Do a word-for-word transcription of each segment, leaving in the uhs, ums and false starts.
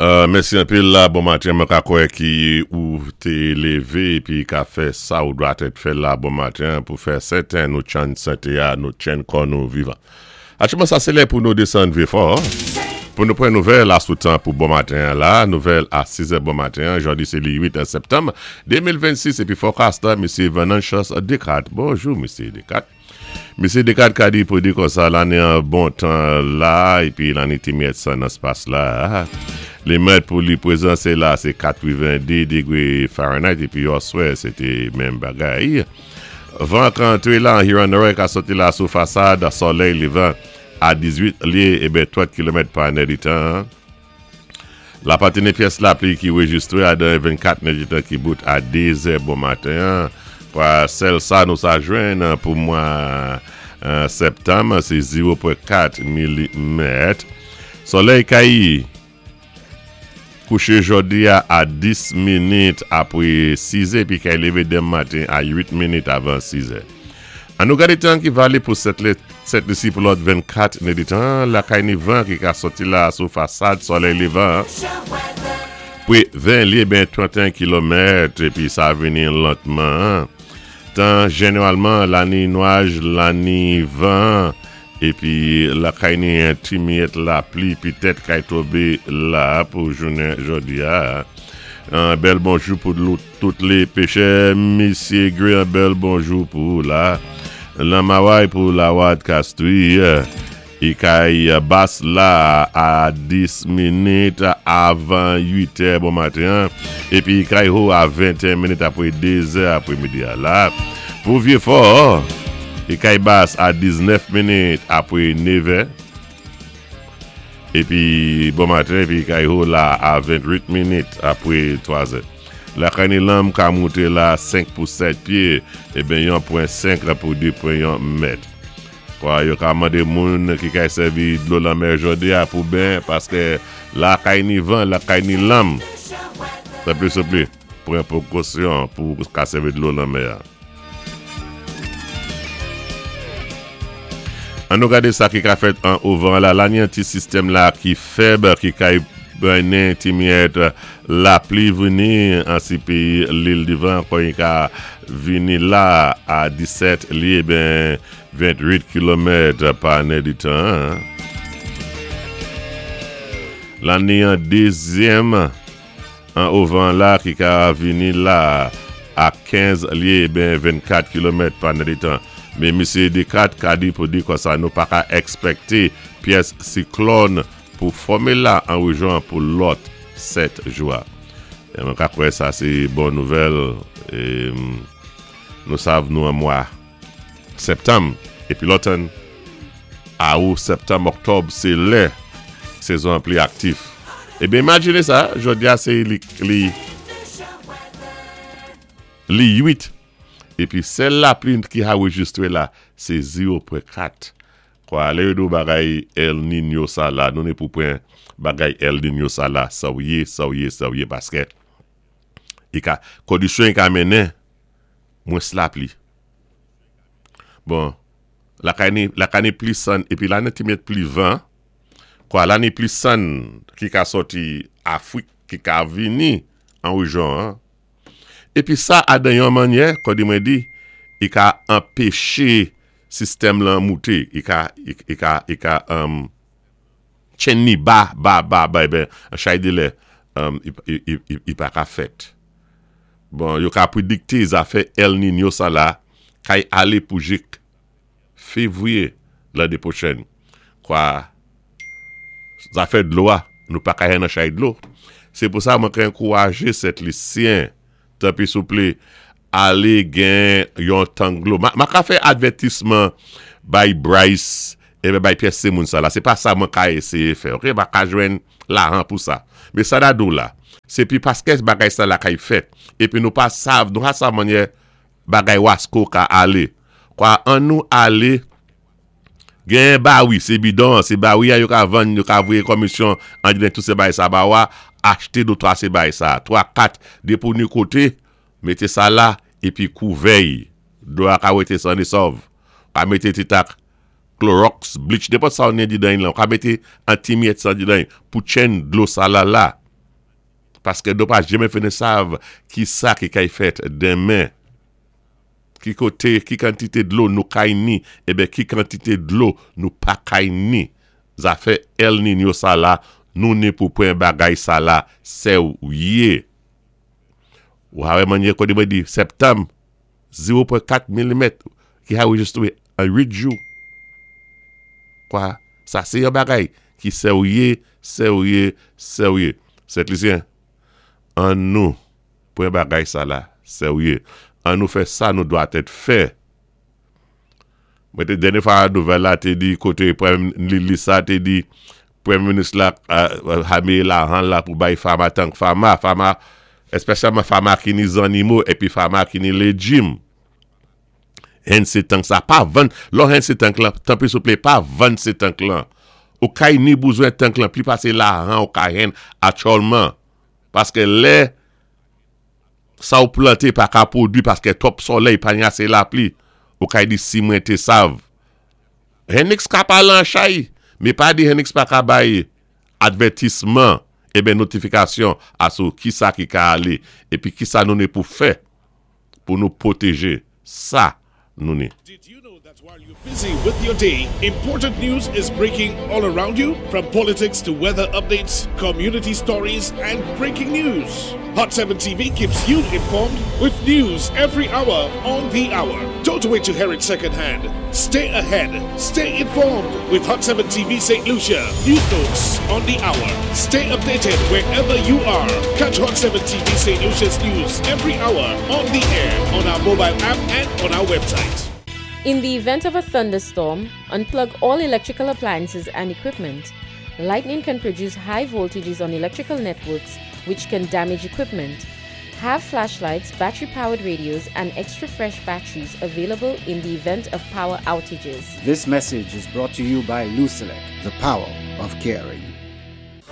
Euh, mèsi anpil la, bon maten, mwen ka kwè ki ou té lévé épi ka fè sa ou dwa tèt fè la bon maten pou fè sèten nou tchann santé a, nou tchann kò nou vivan. Aktyèlman sa sé lè pou nou désann Vieux-Fort, pou nou pran nouvèl a sou tan pou bon maten la, nouvèl a sis è bon maten, jòdi sé li uit septanm de mil vennsis épi forecast la, Misyé Venantius Descartes. Bonjou, Misyé Descartes. Misyé Descartes ka di pou di konsa, la ni an bon tan la, épi la ni ti myèt san nan spas la. Li mèt pou li pwézan sé la, sé katrevendu dégwé Fahrenheit, épi yèswè, sé té menm bagay. Van ka antré la, Huron-Norèk ka sòti la sou fasad, solèy lévan a dizuit lyé, ébyen trant kilomèt pa nèditan. La pa ni pyès lapli ki réjistwé a dan vennkat nèditan ki bout a de zè bon maten. Kwa sèl sa nou sa jwenn pou mwa euh, septanm, sé zewo pwen kat milimèt. Solèy kay kouché jòdi a a dis minit apwé sis è, épi kay lévé denmen maten a uit minit avan sis è. An nou gadé tan ki valé pou Sent Lisi pou lòt vennkat nèditan, la kay ni van ki ka sòti la sou fasad solèy lévan. Pwé ven lyé ben tranteyen kilomèt épi sa vini lantman. Tan jénéwalman la ni nwaj, la ni van épi la kay ni yon ti myèt lapli pitèt kay tonbé la pou jounen jòdi a. Yon bèl bonjou pou lou- tout lé péchè, Misyé Gray, yon bèl bonjou pou la. Lan Maway pou la Wad Castries. I kay bas la a dis minit avan uit è bon maten. Épi kay wo a venteyen minit apwé de zè apwé midi a la. Pou Vieux-Fort, i kay bas a diznèf minit apwé nèf è. Épi bon maten, épi kay wo la a vennwit minit apwé twa zè. La kay ni lanm ka mouté la senk pou sèt pyé, ébyen yon pwen senk pou de pwen yon mèt. Kwa yo ka mandé moun ki kay sèvi dlo lanmè jòdi a pou ben, paské la kay ni van, la kay ni lanm. Souplé, souplé, pran pwékosyon pou ka sèvi dlo lanmè a. An nou gadé sa ki ka fèt an ovan la, la ni an ti sistèm la ki fèb, ki kay mennen ti myèt lapli vini an si péyi Lil Divan kon i ka vini la a disèt lyé ben vennwit kilomèt pa nèditan. La ni an dézyèm an ovan la ki ka vini la a kenz lyé ben vennkat kilomèt pa nèditan. Mé Misyé Descartes ka di pou di konsa nou pa ka èkspèkté pyès siklòn pou fòmé la an wéjyon pou lòt sèt jou a. É mwen ka kwè sa sé bon nouvèl é, nou sav nou an mwa septanm épi lòtann awou septanm, òktòb sé lè sézon pli aktif. Ébyen imajiné sa, jòdi a sé li li li uit épi sèl lapli ki a réjistwé la sé zewo pwen kat. Kwa lè yo di bagay El Niño sa la, nou ni pou pran bagay El Niño sa la sèwyé, sèwyé, sèwyé paské i ka kondisyon i ka mennen mwens lapli. Bon, la kay ni la kay ni plis san épi la ni ti mèt pli van. Kwa la ni plis san ki ka sòti Afwik ki ka vini an wéjyon an. Épi sa a dan yon mannyè, kon di mwen di, i ka anpéché sistèm lan mouté, i ka i, i ka i ka um, tchenn ni ba, ba, ba, ba, ébyen, an chay dé lè, um, i, i, i, i, i pa ka fèt. Bon, yo ka prédikté zafè El Niño sa la, kay alé pou jik févwiyé lanné pwochèn. Kwa, zafè dlo a, nou pa ka nan chay dlo. Sé pou sa mwen ka ankourajé Sent Lisyen, tanpwi souplé, alé gen yon tank dlo. Ma, ma ka fè advètisman bay Bryce ébyen bay pyès sé moun sa la. Sé pa sa mwen ka éséyé fè, ok? Ma ka jwenn lahan pou sa. Mé sa da dou la, sé pi paské bagay sa la kay fèt, épi nou pa sav, nou pa sav mannyè bagay wasko ka alé. Kwa an nou alé gen bawi, sé bidon, sé bawi a yo ka vann, yo ka voyé komisyon an di tout sé bay sa ba wa, achté do twa sé bay sa, twa, kat, dé pou ni koté, mété sa la, épi kouvè'y. Dlo a ka wété san é sòv. Ka mété ti tak Clorox, bleach, nenpòt sa ou ni didan lan, ka mété an ti myèt sa didan pou tchenn dlo sa la la. Paské nou pa janmen fini sav ki sa ki kay fèt denmen. Ki koté, ki kantité dlo nou kay ni, ében ki kantité dlo nou pa kay ni. Zafè El Niño sa la, nou ni pou pwan bagay sa la, séwyé. Ou ka wè manyè koté mwen di, septanm, zewo pwen kat milimèt ki anrejistwé an uit jou. Kwa, sa sé yon bagay ki séwyé, séwyé, séwyé. Sent Lisyen, an nou pwan bagay sa la, séwyé. An nou fè sa nou dwatèt fè. Mwen té dènyé fwa nouvèl la té di koté li, li sa té di Pwémyé Minis la uh, lahan la pou bay fama tank fama, fama espesyalman fama ki ni zannimo épi fama ki ni léjim. Hen sé tank sa, pa vann, lò hen sé tank lan, tanpwi souplé, pa vann sé tank lan. Ou kay ni bouzwen tank lan, pli pasé lahan ou ka hen aktyèlman. Paské lè sa ou planté pa ka pwodwi paské twòp solèy, pa ni asé lapli, ou kay di si mwen té sav. Henix ka palé an chay, mé pa di Henix pa ka bay advètisman, ében notifikasyon asou ki sa ki ka alé, épi ki sa nou ni pou fè pou nou pwotéjé sa nou ni. Did you know that while you're busy with your day, important news is breaking all around you? From politics to weather updates, community stories, and breaking news. Hot seven T V keeps you informed with news every hour on the hour. Don't wait to hear it secondhand. Stay ahead. Stay informed with Hot seven T V Saint Lucia. News notes on the hour. Stay updated wherever you are. Catch Hot seven T V Saint Lucia's news every hour on the air, on our mobile app, and on our website. In the event of a thunderstorm, unplug all electrical appliances and equipment. Lightning can produce high voltages on electrical networks, which can damage equipment. Have flashlights, battery powered radios, and extra fresh batteries available in the event of power outages. This message is brought to you by Lucelec, the power of caring.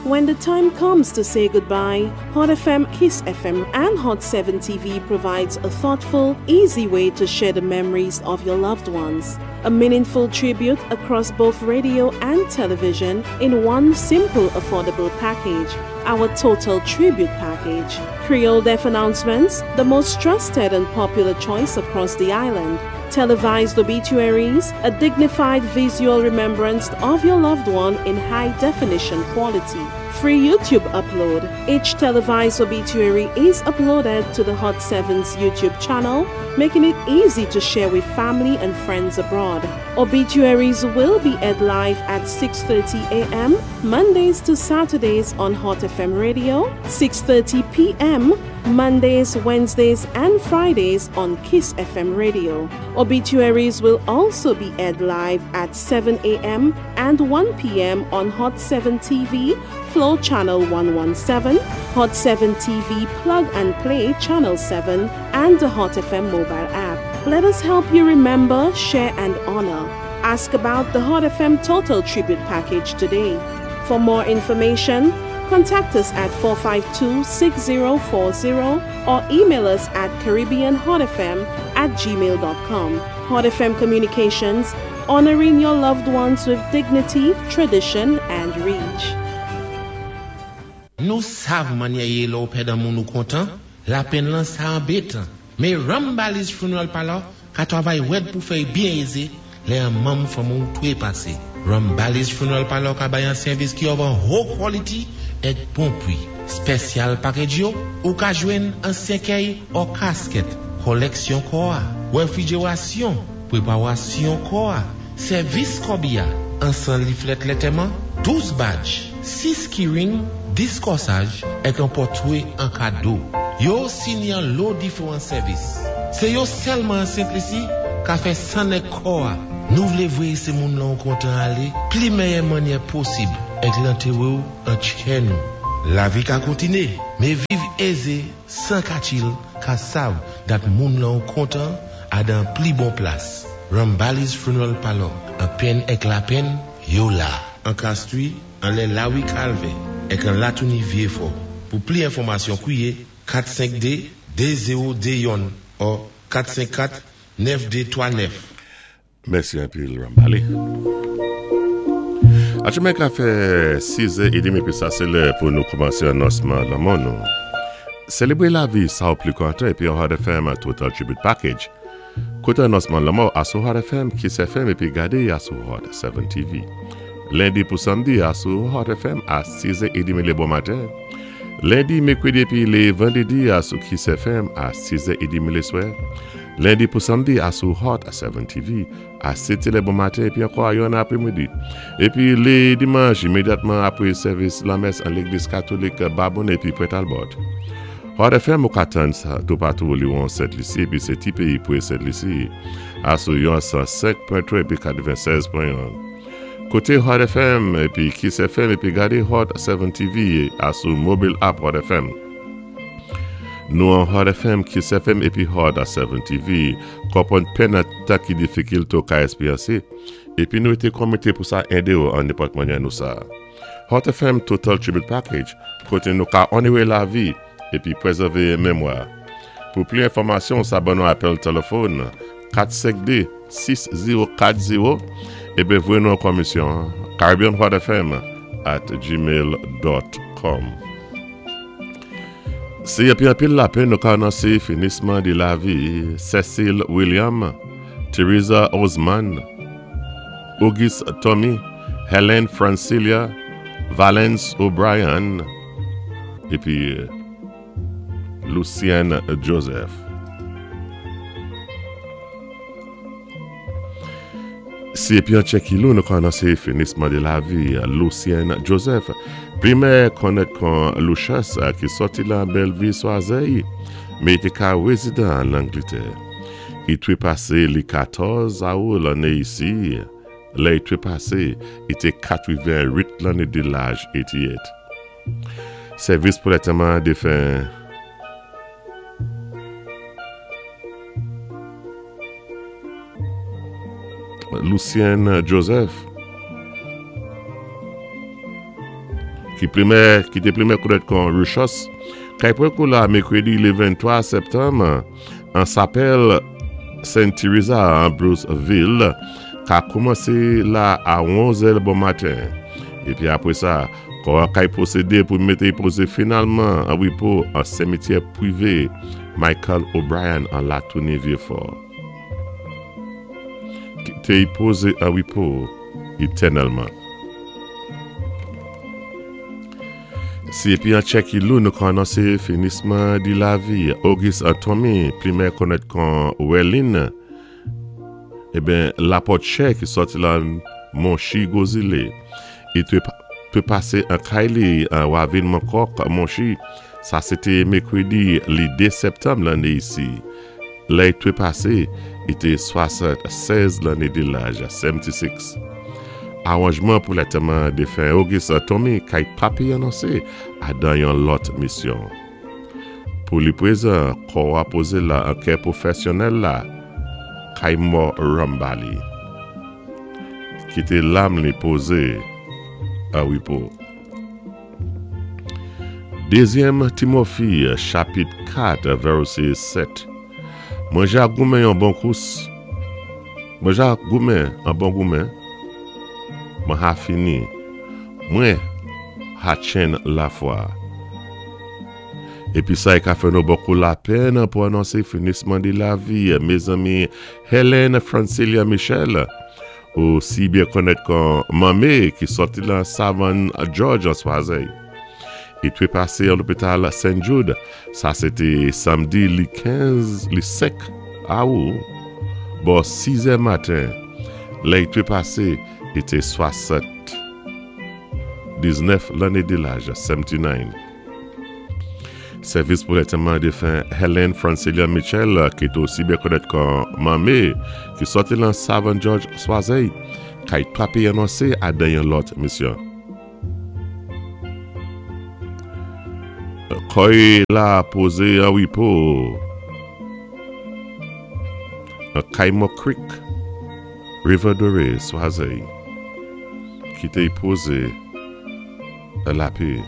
When the time comes to say goodbye, Hot F M, Kiss F M, and Hot seven T V provides a thoughtful, easy way to share the memories of your loved ones. A meaningful tribute across both radio and television in one simple, affordable package. Our Total Tribute Package. Creole Death Announcements, the most trusted and popular choice across the island. Televised obituaries, a dignified visual remembrance of your loved one in high definition quality. Free YouTube upload. Each televised obituary is uploaded to the Hot seven's YouTube channel, making it easy to share with family and friends abroad. Obituaries will be aired live at six thirty a m. Mondays to Saturdays on Hot F M Radio, six thirty p m. Mondays, Wednesdays, and Fridays on Kiss F M Radio. Obituaries will also be aired live at seven a m and one p m on Hot seven T V, Flow Channel one one seven, Hot seven T V Plug and Play Channel seven, and the Hot F M mobile app. Let us help you remember, share, and honor. Ask about the Hot F M Total Tribute Package today. For more information, contact us at four five two, six zero four zero or email us at caribbeanhotfm at gmail dot com. Hot F M Communications, honoring your loved ones with dignity, tradition, and reach. Nou sav manyè yé lò ou pèd an moun ou kontan, lapenn lan sa anbétan. Mé Rambali's Funeral Parlor ka twavay wèd pou fè byen ézé, lè an manm fanmi ou twé pasé. Rambali's Funeral Parlor ka bay an sèvis ki of an ho quality èk bon pwi. Special package yo, ou ka jwenn an sèkèy ou kasket, koleksyon kò a, wefrijerasyon, pweparasyon kò a, sèvis kòbiya, an san leaflet lantèman, douz badge, sis keyring, dis kòsaj, èk an pòtwé an kado. Yo sini an lo diferan sèvis. Sé yo sèlman an Sent Lisi ka fè sann èk kò a. Nou vlé vwé sé moun lan kontan alé, pli mèyè manyè posib, èk lantéwé ou an tchè nou. Lavi ka kontiné, mé viv ézé, san katchil, ka sav dat moun lan kontan a dan pli bon plas. Rambali's Funeral Parlor, an penn èk lapenn, yo la. An Castries, anlè Lawi Calvin, èk an Latouni Vieux-Fort. Pou pli enfòmasyon kwiyé kat senk de de zewo de youn ou kat senk kat nèf de twa nèf. Mèsi anpil, Rambali. Achemen ka fè sis è edmi, épi sa sé lè pou nou koumansé anonsman lanmò nou. Sélébwé lavi sa ou pli kontan épi Hot F M Total Tribute Package. Kouté anonsman lanmò asou Hot F M, Kiss F M épi gadé asou Hot sept T V. Lendi pou samdi asou Hot F M a sis è trant lé bon maten. Lendi, mèkwédi épi lé vandédi asou Kiss F M a sis è trant lé swè. Lendi pou samdi asou Hot sept T V a sèt lé bon maten épi ankò a yonn apwémidi. Épi lé dimanch imédyatman apwé sèvis lamès an légliz katolik Babonneau épi Pointe Talbot. Hot F M ou ka tann sa toupatou li won Sent Lisi épi sé ti péyi pwé Sent Lisi asou yon san senk pwen twa épi katwennsèz pwen yon. Kouté Hot F M épi Kiss F M épi gadé Hot sept T V asou mobile app Hot F M. Nou an Hot F M, Kiss F M épi Hot sept T V konpwann penn an tan ki difikilte ou ka èspéryansé épi nou été komité pou sa édé ou an nenpòt mannyè nou sa. Hot F M Total Tribute Package koté nou ka onoré lavi épi pwézèvé mémwa. Pou pli enfòmasyon, sa ban nou apèl téléfòn kat senk de sis zewo kat zewo épi voyé nou an komisyon caribbean hot F M at gmail dot com. Sé épi anpil lapenn nou ka anonsé finisman di lavi Cecil William, Teresa Osman, Auguste Tommy, Helen Francilia, Valence O'Brien épi Lucienne Joseph. Si épi an tchè ki lou nou ka anonsé finisman di lavi Lucienne Joseph, plimè konnèt kon Lucius, ki sòti lan Bellevue Choiseul, mé té ka wézidan an Langlétè. I twé pasé li katòz awou lanné isi, lè i twé pasé, i té katwenwit lanné di laj eighty-eight. Sèvis pou lantèman défen Lucienne Joseph ki plimè ki té plimè konnèt kon Ruchos kay pwan kou la mèkwédi lé venntwa septanm an sapèl Saint Teresa an Bruceville ka koumansé la a onz è bon maten. Épi apwé sa, kò kay pwosédé pou mété pozé finalman an wépo an simityè pwivé Michael O'Brien an Latournie Vieux-Fort. Kité y pozé an wépo étènèlman. Si épi an tchè ki lou nou ka anonsé finisman di lavi Auguste Tommy, plimè konnèt kon Welin, eben Laporte ki sòti lan Monchi Gozile i twé twé pasé an kay li an Wavin Mankok Monchi, sa sé té mèkwédi li de septanm lanné isi. Lè i twé pasé, i té swasannsèz lanné di laj, sewennti-sis. Awanjman pou lantèman défen Auguste Tommy kay papi anonsé adan yon lòt misyon. Pou li pwézan, kò a pozé la an kè pwofèsyonnèl la, kay mò Rambali. Kité lam li pozé an wépo. Dézyèm Timofi, chapit kat, vèsé sèt. Mwen ja goumen yon bon kous. Mwen ja goumen an bon goumen. Mwen ha fini. Mwen ha tchenn lafwa. Épi sa i ka fè nou bokou lapenn pou anonsé finisman di lavi mézanmi Hélène Francilia Michel, ou si byen konnèt kon Mamé, ki sòti lan Savann George an Choiseul. I twé pasé an lopital Saint Jude. Sa sé té samdi li kenz, li senk awou, bò sis è maten. Lè i twé pasé, i té swasanndisnèf lanné di laj, sewennti-nine. Sèvis pou lantèman défen Hélène Francilia Michel, ki té osi byen konnèt kon Mamé, ki sòti lan Savann George Choiseul, kay papi anonsé adan yon lòt misyon. Kò la pozé an wépo an Kaimo Creek, River Doré, Choiseul, kité y pozé an lapè.